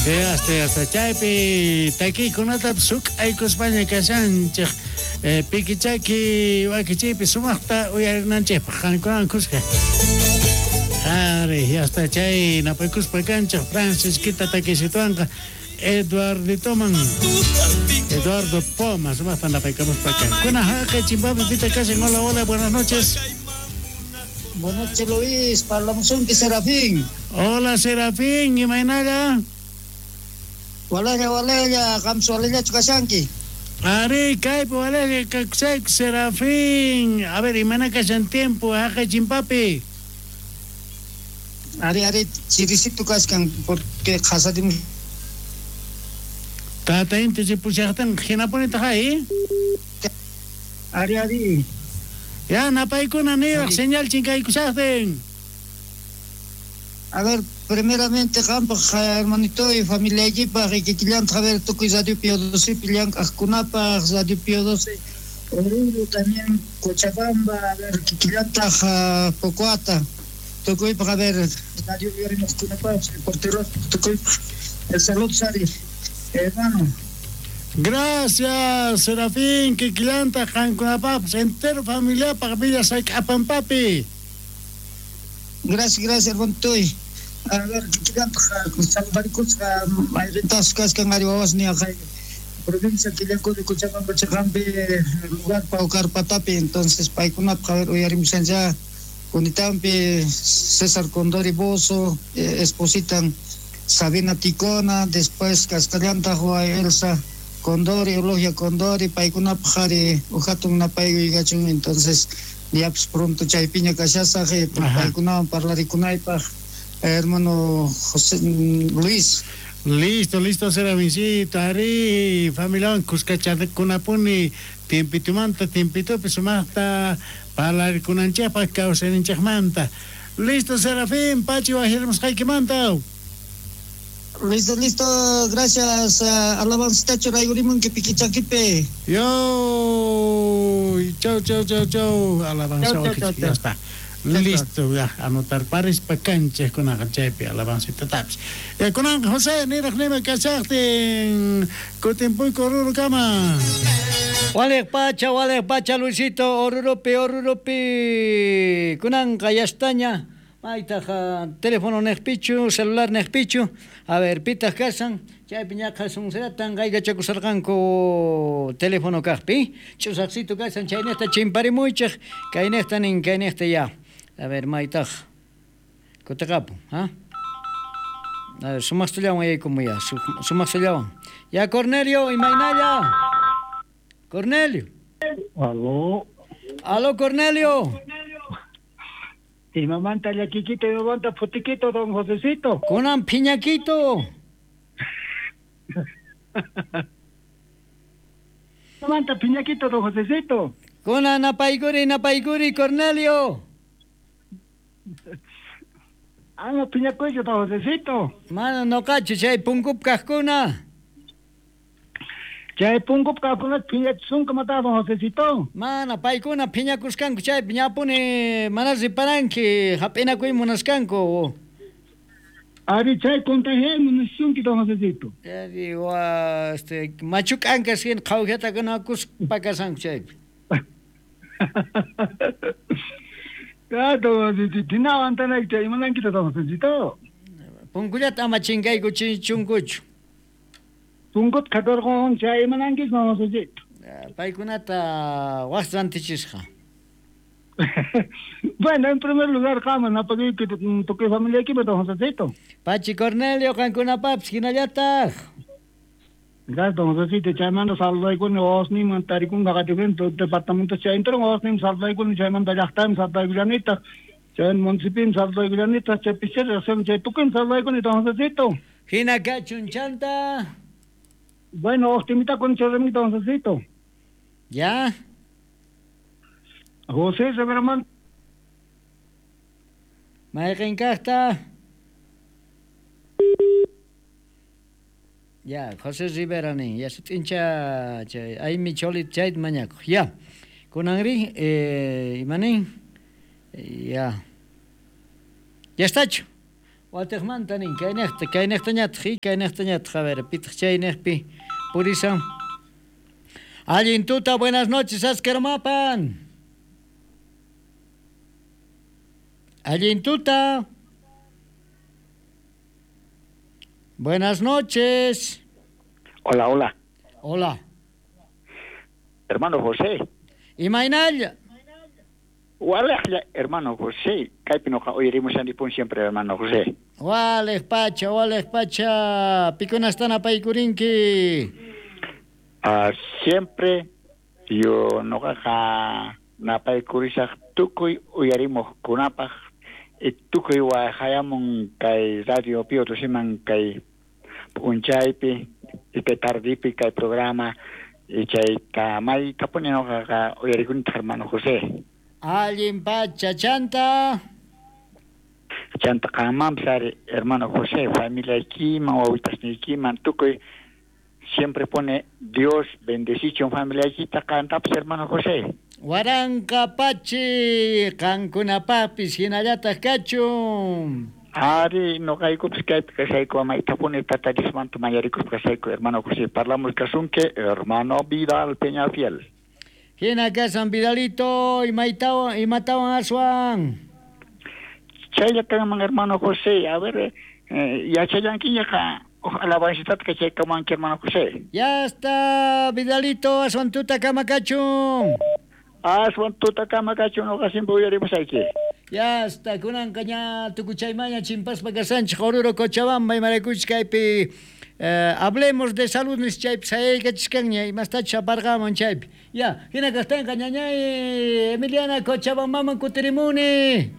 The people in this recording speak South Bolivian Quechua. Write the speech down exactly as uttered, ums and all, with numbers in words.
Hasta hasta chaypi takiykunata suk'aykuspaña kashanchej eh, pikichaki wakichiypi sumaqta uyarinanchejpaq qankunawan kuska. Ari, hasta chay napaykuspa kanchej Francisquita takisituanqa Eduarditoman Eduardo Poma sumaqta napaykamuspa kan. Kuna haqay chimpapi pita kashan. Hola, hola, buenas noches. Buenas noches, Luis. Parlamusunki Serafín. Hola, Serafín, imaynalla? Walella, walella, qamsu walellachu kashanki. Ari, kaypi walella kakusayku Serafín. A ver, imayna kashan tiempo haqay chimpapi? Ari, ari, chirisito kashkan porque qhasadimus. Tata inti ripushaqtin hinapunitaq ay. Ari, ari. Ya, napaykuna niraq señal chinkaykushaqtin. A ver, primeramente, qampaq hermanito y familiaykipaq y kikillantaq a ver tukuy Radio Pío doce llank'aqkunapaq, Radio Pío doce Oruro también Cochabamba, a ver kikillantaq Pocoata, tukuypaq a ver Radio Uyarimuqkunapaq, reporteros tukuypaq. El saludo, Sari, hermano. Gracias, Serafín, kikillantaq qankunapaqpas entero familiapaq Villa Sayk'apampapi. Gracias, gracias, hermanitoy. A ver, kikillantaq saludarikusqa mayrintasqa kaskan ari wawasni aqay provincia Quillacollo, Cochabamba chaqampi lugar Paucarpatapi, entonces paykunapaq a ver uyarimushancha Cunitampi César Condori Bozo, eh, espositan Sabina Ticona, después kasqallantaq Elsa Condori, Eulogia Condori, paykunapaq ari uhatun napaykuyachun, entonces ya pues pronto chaypiña kashasaq paykunawan parlarikunaypaq hermano José Luis. Listo, listo, Serafincito, ari, familiawan kuskachakunapuni tiempitumanta, tiempitupi sumaqta parlarikunanchikpaq kawsayninchikmanta. Listo, Serafín, pachi wajirimusqaykimanta. Listo, listo, gracias. Uh, alabancita churayurimunki pikichakipi. Yo, chau, chau, chau, chau. Alabanza, chau, chau, chau, ya está. Listo, ya, anotar paris pa canchas con chaypi alabancita tapis. Ya kunan José, niraq nima kachaqtin, kutinpuyku Orurukama. Waleq pacha, waleq pacha, Luisito, Orurupi, Orurupi. Kunanqa yastaña. Maytaq teléfono neqpichu, celular neqpichu. A ver, pitaq kasan, chaypi ñaqa sunseratan qayllachakusarqanku teléfono kaqpi. Ch'usaqsitu kasan, chaynejta chimparimuychej, kaynejta nin, kaynejta ya. A ver, maytaq kutiqapun, ha? A ver, sumaqsullawan yaykumuy ya, sumaqsullawan. Ya, Cornelio, imaynalla. Cornelio. Aló. Aló, Cornelio. Imamanta llakiquito, imamanta putiquito, don Josecito. Kunan piñaquito. Imamanta piñaquito, don Josecito. Kunan napaykuri, napaykuri, Cornelio. Ama piñacuyo, don Josecito. Mano, no cacho, chay punkup kajkuna. Chay punkup kajkuna piñachisunku mata, don Josecito. Mana, paykuna piñakuskanku chay piñapuni mana riparanki hap'inakuy munaskanku. Ari chay contagiay munasunki, don Josecito. Ya digo, este, machuk'ankas hina qhawjatakunakuspa kasanku chaypi. Ah, don Josecito, hinawantanayki chay imanankita, don Josecito. Punkullata ama chinkayku chunkuchu. Punkut qhatarqun chay imanankis, don Josecito. Paykunata waj rantichisqa. Bueno, en primer lugar, qama napakuyki tukuy familiaykipa, don Josecito. Pachi Cornelio, qankunapapis hinallataq. Gracias, don Josecito. Chaymanta saludaykuni wawasniyman tarikunqa qatiqnin departamento chay entero wawasniyman saludaykuni chaymanta llaqtayman saludaykullanitaq chay municipioman saludaykullanitaq chay pichera chay tukuyman saludaykuni, don Josecito. Hina kachun chanta. Bueno, optimista con Chorremito, don Josecito. Ya. José Severman. Mayqin kaqta. Ya, José Rivera nin, ya sut'incha chay aymi cholit chayta mañakuq. Ya. Kunanri, eh, imanin? Ya. Ya estachu. Watejmanta nin, kaynejta, kaynejtañataq, kaynejtañataq, a ver, pitaq chaynejpi purisan. Allin tuta, buenas noches, Askermapan. Allin tuta. Buenas noches. Hola, hola. Hola. Hermano José. Imaynalla. Walejlla, hermano José. Kaypi noqa uyarimushanipun siempre, hermano José. Walej pacha, walej pacha. Pikunastan apaykurinki. Uh, siempre yo noqaqa napaykurisaq tukuy uyarimuqkunapaq y tukuy wahayamun kay radio Pío Dociman kay p'unchaypi y kay tardipi kay programa y chayta maytapuni noqaqa uyarikunitaq, hermano José. Allin pacha, chanta. Chanta qanmanpis ari, hermano José, familiaykiman, wawitasniykiman, tukuy siempre pone Dios bendecichun familiaykita qantapis, hermano José. Waranqa pachi, qankunapaqpis hinallataq kachun. Ari, noqaykupis kaypi kashayku, maytapuni Tata Diosmanta mañarikuspa kashayku, hermano José. Parlamus kasunki, hermano Vidal Peñafiel. Hina kasan Vidalito, imaytawan, imatawan aswan. Chaylla kanman, hermano José, a ver, eh, yachallankiñaqa alabancitata kachaykamanki, hermano José. Ya está, Vidalito, aswan tuta kama kachun. Aswan tuta kama kachun, noqa siempre uyarimusayki. Ya está, kunanqa ña tukuchaymaña chimpaspa kasanchik Oruro Cochabamba imaraykuchis kaypi eh, hablemos de salud nis chaypi sayaykachiskanña imastachus aparqamun chaypi. Ya, hina kaqtinqa ñañay Emiliana Cochabambaman kutirimuni.